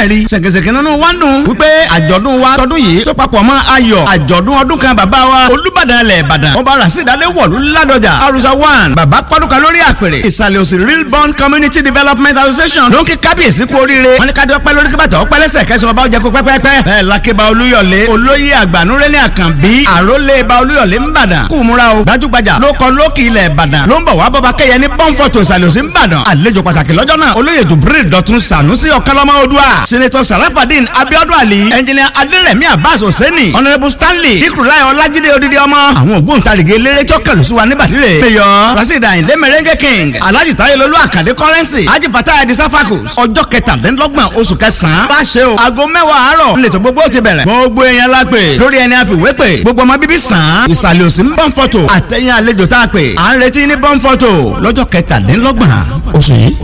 Ẹ̀rí ṣèkèṣèkè nínú wa ń dùn wípé àjọ̀dún wa tọdún yìí tó papọ̀ mọ́ ayọ̀ àjọ̀dún ọdún kan bàbá wa Olúbàdàn ilẹ̀ Ìbàdàn ọba Rasheed Adéwọ̀lú Ládọjà Arusa 1 bàbá pọ́dúkà lórí àpèrè Ìsàlẹ̀ Òsì Real Bond Community Development Association ló ń kí kábíyèsí kú oríire. Wọ́n ní ká dọ́pẹ́ lórí kíbàtà ọpẹ́ lẹ́sẹ̀ kẹsàn-án ọba ọjà kó pẹ́pẹ́pẹ́. Bẹ́ẹ̀ lakeba Olúyọ̀lé olóyè àgbànúrẹ́lẹ̀ Àkànbí àrólé ba Olúyọ̀lé ńbàdàn kú múra o. Gbajúgbajà ló kọ lókì ilẹ̀ Ìbàdàn ló ń bọ̀ wá bọ́ba kẹ́yẹ ní pọ́ńpọ̀tò Ìsàlẹ̀ Òsì ńbàdàn. Àlejò pàtàkì lọ́jọ́ náà olóyè Jubril Dọ̀tun Sànúsí Ọ̀kánlọ́mọ Odua, Senator Sarafadin Abiodun Ali, Engineer Adérẹ̀mí Abbas Hosseini, Honourable Stanley Ikurulai Ọlájídé Odidi ọmọ. Àwọn ògbóǹtarìgì eléré tí ó kẹlù sí wa níbàdí rè. Mayor Rasheed Ayinde Merengue King, Alhaji Tayelolu Akande Currency, Haji Fatai Adisa Fakus. Ọjọ́ 27 oṣù kẹsàn-án. Bá ṣe o, aago 10 àárọ̀ lẹ́tọ̀ gbogbo ti bẹ̀rẹ̀. Gbogbo èèyàn la pè lórí ẹni àfiwé pè. Gbogbo ọmọ bíbí sàn án. Ìsàlẹ̀ Òsì ń Bọ́ǹfọ̀tò àtẹ̀yìn àlejò tá a pè. À ń retí ní Bọ́ǹfọ̀tò lọ́jọ́ 27 oṣù yìí.